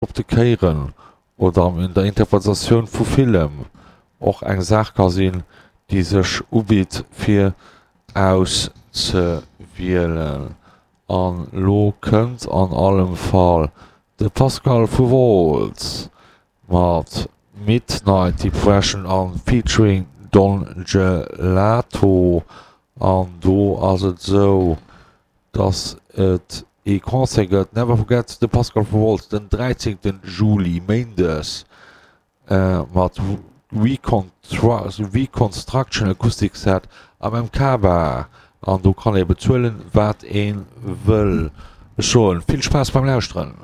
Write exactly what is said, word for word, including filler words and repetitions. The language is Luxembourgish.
Op de Kéieren oder an der Interpretatioun vu villem och eng Saach ka sinn, déi sech ubitt fir auszewielen. An lo kënnt an allem Fall de Pascal vu Woltz mat Midnight Depression an featuring Don Gelato. An do ass et sou, dass et ee Concert gëtt, Never Forget de Pascal vu Woltz, den dräizéngten Juli, Méindes, mat Reconstruction Acoustic Set am M K Bar. An do kann ee bezuelen, wat ee wëll. Ech soen vill Spaass beim Lauschteren.